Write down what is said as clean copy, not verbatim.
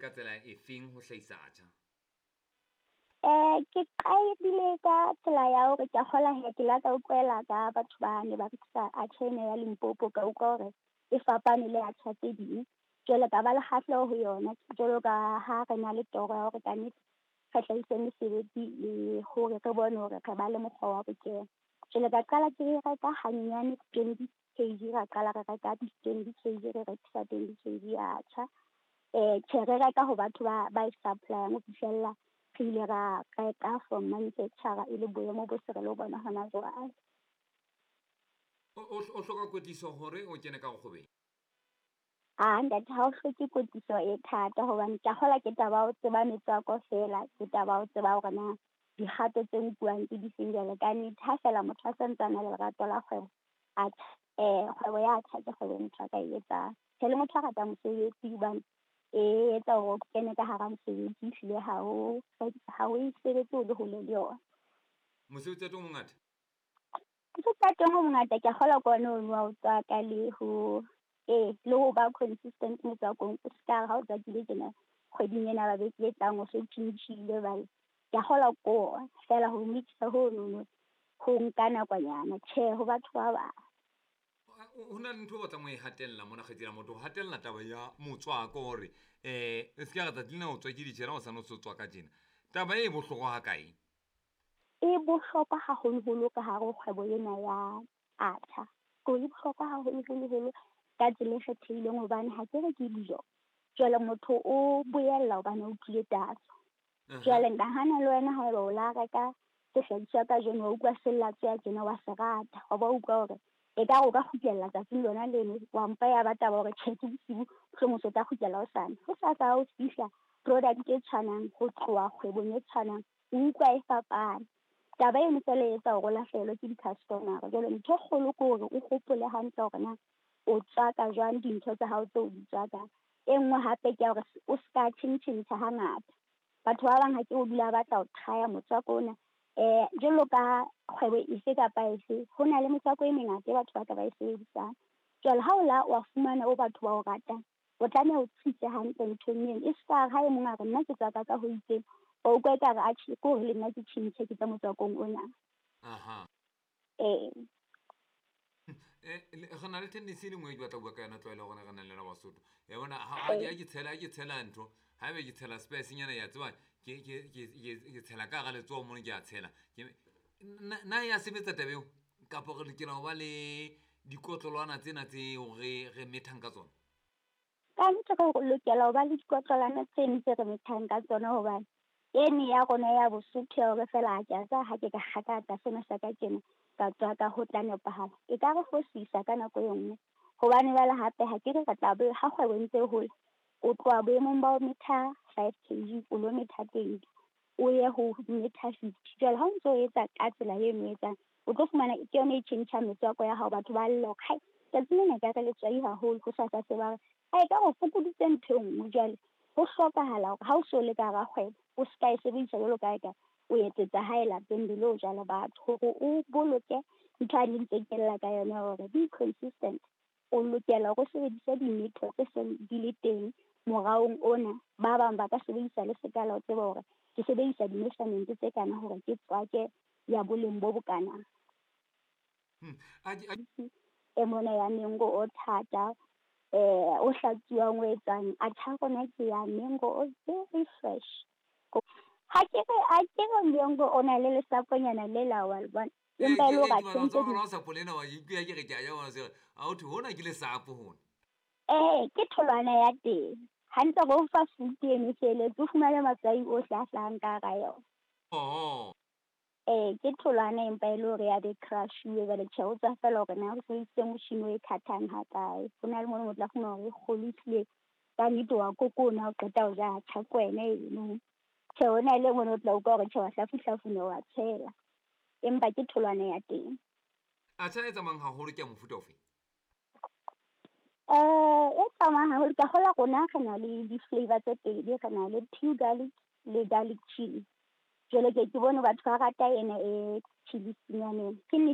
Ka tsela efeng ho hlahisa atjha? Ke qadile ka tsela ya hore ke a kgola hee ke la ka utlwela ka batho ba ne ba rekisa atjha ena ya Limpopo, ka utlwa hore e fapane le atjha tse ding. Jwale ka ba le kgahleho ho yona jwalo ka ha re na le toro ya hore kannete re hlahise mesebetsi le hore re bone hore re ba le mokgwa wa ho kena. Jwale ka qala ke reka hanyenyane 20 kg, ra qala re reka di-20 kg, re rekisa 20 kg ya atjha. Tjhe, re reka ho batho ba e supply-ang ho fihlella re ile ra reka from manufacturer e le boemo bo se re lo bona hona jwale. O hloka kwetliso hore o kene ka kgwebong? Ah, ntate, ha o hloke kwetliso e thata hobane ke a kgola ke taba ya ho tseba metswako feela, ke taba ya ho tseba hore na dikgato tse nkuwang ke difeng. Jwale kannete ha feela motho a santse a na le lerato la kgwebo, atjha, kgwebo ya atjha ke kgwebo e motho a ka e etsang. Tjhe, le motho a ratang mosebetsi hobane e etsa hore o kene ka hara mosebetsi, ehlile ha o e sebetse o le hole le yona. Mosebetsi wa teng o mongata? Mosebetsi wa teng o mongata, ke a kgolwa ke ona ono wa ho tswaka le ho, ee, le ho ba consistent motswakong. O ska re ha o tswakile tjena kgweding ena ba beke e tlang o so tjhentjhile jwale. Ke a kgolwa ke ona feela ho mix-a honono ho nka nakonyana. Tjhe, ho batho ba bang. Ho na le ntho e batlang ho e hatella mona kgaitsedi ya motho, ho hatella taba ya motswako hore e se ke ya re tsatsi lena o tswakile tjena, hosane o se o tswaka tjena. Taba e bohlokwa ha kae? E bohlokwa haholoholo ka hare ho kgwebo ena ya atjha. Ko e bohlokwa haholoholo-holo ka tsela e kgethehileng hobane ha ke re ke dijo. Jwale motho o boella hobane o utlwile tatso. Jwale nahana le wena haeba o la reka sehlahiswa kajeno, wa utlwa se latsweha tjena, wa se rata, wa ba utlwa hore ekare o ka kgutlela tsatsing lona leno, wa mpa ya ba taba hore tjhe ke bosiu, mohlomong o tla kgutlela hosane. Hosasa ha o fihla product e tshwanang ho tloha kgwebong e tshwanang, o utlwa e fapane. Taba eno feela e etsa hore o lahlehelwe ke di-customer-a. Jwale ntho e kgolo ke hore o hopole hantle hore na o tswaka jwang dintho tsa hao tseo o di tswakang. E nngwe hape ke ya hore o ska tjhentjhentjha hangata. Batho ba bang ha ke o dula ba batla ho try-a motswako ona. Jwalo ka kgwebo efe kapa efe, ho na le metswako e mengata e batho ba ka ba e sebedisang. Jwale ha o la wa fumana o batho ba o ratang, o tlameha o tsitse hantle nthong eno. E ska re ha e mong a re nna ke tswaka ka ho itseng, wa utlwa ekare atjhe ke hore le nna ke tjhentjhe ke tla motswakong ona. Ee. Re na le tendency e le nngwe e ke batla ho bua ka yona, tlwaelo rona re nang le yona Basotho. Ya bona, ha ke tshela ntho, haebe ke tshela spice nyana, ya tseba, ke tshela ka hara letsoho mono, ke a tshela. Na ya sebetsa taba eo? Kapa re lokela ho ba le dikotlolwana tsena tseo re methang ka tsona? Ka nnete re lokela ho ba le dikotlolwana tseno tse re methang ka tsona, hobane ene ya rona ya Bosotho ya hore feela ha ke a tseba ha ke ka kgakatsa sena sa ka tjena, ka tswaka ho tla nepahala. E ka re fosisa ka nako e nngwe, hobane jwale hape ha ke re re tla be ha kgwebo e ntse e hola, o tloha boemong ba ho metha 5 kg, o lo metha 20, o ye ho metha 50. Jwale ha o ntso o etsa ka tsela eno o etsang, o tlo fumana ke yona e tjhentjhang metswako ya hao. Batho ba lla hore hai tsatsi lena ekare letswai haholo, hosasa se ba re ha ekare o fokoditse ntho e nngwe. Jwale ho hlokahala hore ha o so le ka hara kgwebo, o ska e sebedisa jwalo ka ha eka o etsetsa hae lapeng le lo ja le batho, hore o boloke ntho a ntse ke lla ka yona hore be consistent. O lokela hore o sebedise dimetho tse seng di le teng moraong ona. Ba bang ba ka sebedisa le sekala ho tseba hore ke sebedisa di-measurement tse kana hore ke tswake ya boleng bo bokana. E mona ya mango o thata, o hlatsuwang o etsang, atjha rona ke ya mango o very fresh. Ha ke re, ha ke re mango o na le lesaponyana le la wa le bona. Empa e le hore a tjhentjhe di- Tsona sapo lena wa ke ke re ke a ja bona se, ha ho thwe hona ke lesapo hona. Ke tholwana ya teng. Hantle re o fa fruit eno e felletse, o fumane matswai ohle a hlahang ka hara yona. Ke tholwana empa e le hore ya be crush-uwe. Jwale tjhe, o tswa feela hore na o sebedisitse motjhini o e cut-ang ha kae. Ho na le mono o tla fumana hore e kgolo ehlile ka nnete wa kokona ha o qeta ho ja, tjha ke wena eno. Tjhe, ho na le mono o tla utlwa hore tjhe, wa hlafuhlafuna, wa tshela. Empa ke tholwana ya teng. Atjha e tsamayang haholo ke ya mofuta ofe? E tsamayang haholo, ka kgolwa rona re na le di-flavour tse pedi, re na le pure garlic le garlic chili. Jwale ke bone batho ba rata ena e chili-nyana ena. Ke nnete.